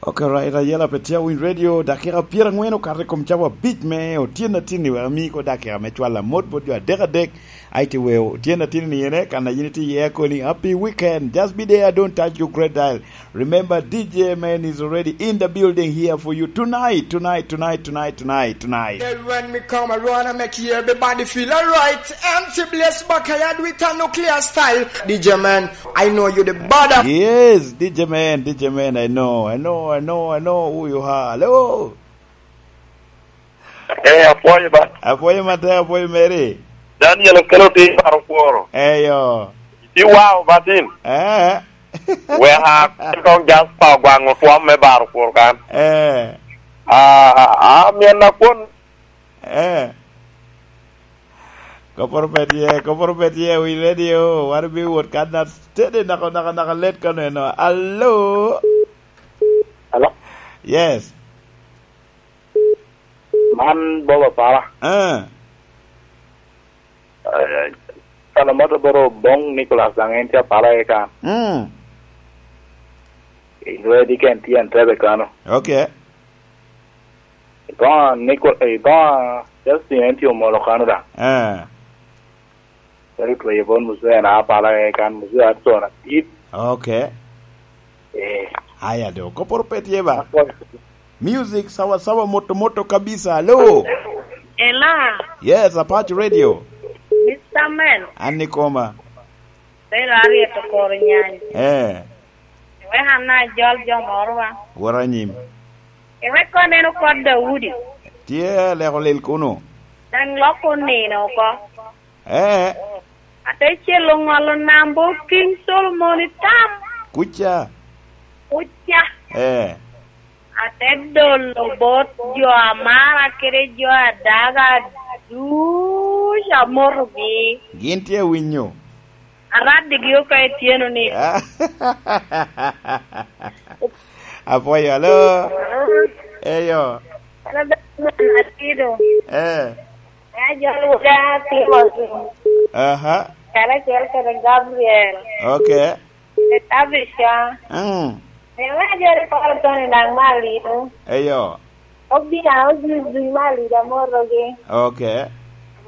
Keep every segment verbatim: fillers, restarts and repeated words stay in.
Ok, right, ayela pe tye Winy Radio, dakika pyeraŋwen okato i kom cawa abic me otyeno atinni, wek ami ko dakika me cwalo amot bot jo adek adek, ai ti weo otyeno atinni ene, kan a yin itye iye koni, happy weekend, just be there, don't touch your great dial. Remember, D J Man is already in the building here for you tonight, tonight, tonight, tonight, tonight, tonight. Hey, when me come around, I make you everybody feel alright. M C Bless Bakayad with a nuclear style. D J Man, I know you the bother. Yes, D J Man, D J Man, I know, I know, I know, I know who you are. Hello. Eh, apwoyo ba. Apwoyo matek, apwoyo Mary. Daniel Okelo ti baro kworo. Eyo. Ti wao batin. Eh. Wek a kong Jasper ogwaŋ otwom me baro kwor kan. Eh. Ah, ah, mien na kwon. Eh. Koporo pe tye, koporo pe tye, wi radio, wan bi wot kan na tede naka, naka, naka let kano eno. Alo? Alo? Yes. Man Bob Apara. Eh. Eh, Kalamoto boro Bong Nicholas daŋ en tye Apara eka. Mm. Inwedi ken tye Entebbe kano. Okay. Iboŋa Nico-, iboŋa Justin en tye Omolo kano daŋ. Eh. Kadi tweyo bon Muzee na Apara eka Muzee Adson Adit. Okay. Eh. Aya do, koporo pe tye ba? Apwoyo. Music sawa sawa, moto moto kabisa. Hello. Hello. Yes, Apache Radio. Mister Man. An ikoma. Belo aryeto koro nyany. Eh. Wek an ajol jo moro wa. Wot anyim. Iwek kono neno kot Daudi. Tye leko lil kuno. Daŋ lok onino oko. Eh. Ate celo ŋolo namba King Solomon i tam. Kuca. Kuca. Eh. Ate dolo bot jo amara kede jo adaga ducu amotogi. Gin tye awinyo. Araddigi oko ityeno ni. Apwoyo, alo. Eyo. Alo, Benjamin Atido. Eh. Ajol Wuda Timothy. Aha. Karacel kede Gabriel. Okay. Kede Tabitha. Mm. Ema ajol Kolo Tony daŋ Malito. Eyo. Obina, Ojuice duc Malito amotogi. Okay.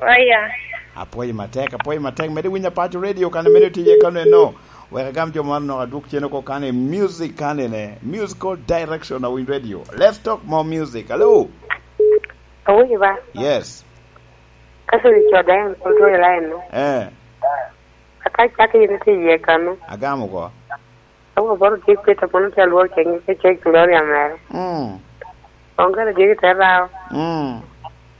Oya. Apwoyo matek, apwoyo matek. Mede winyo Apaco Radio kan mede tye kano eno. Wek agam jo man nok adwog cen oko kan i music kan ene. Musical direction of Winy Radio. Let's talk more music. Hello. Awinyo ba? Yes. Ka cï co daŋ en pwod tye i line no. Eh. Aka cak yin tye iye kano. Agamo oko. Awo boro tye kweta mono tye alwor ceng ke ceng Gloria mere. Mm. Onge na jegi te rawo. Mm.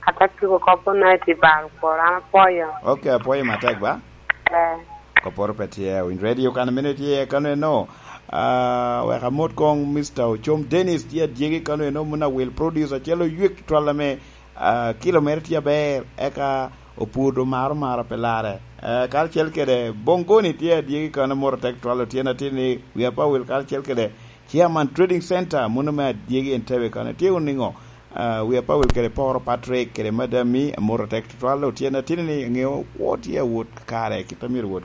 Ata kiko kop na ti baro kwor an apwoyo. Okay, apwoyo matek ba? Eh. Koporo pe tye, Winy Radio kan mene tye kano eno. Ah, wek amot kong Mister Ocom Dennis tye adyegi kano eno, muna wil producer acel oywe twal ame, ah, kilo mere tye aber, eka oputo maro maro pe larre. Eh, karacel kede Bongoni tye adyegi kano, moro tek twal otyen atin ni wi apa wil karacel kede Chairman Trading Center, muna me adyegi Entebbe kano. Tye wunu niŋo? Ah, wi apa wil kede Poro Patrick kede Madam Mi, moro tek twal otyen atin ni ŋeo kwo tye awot kare, kit a myero wot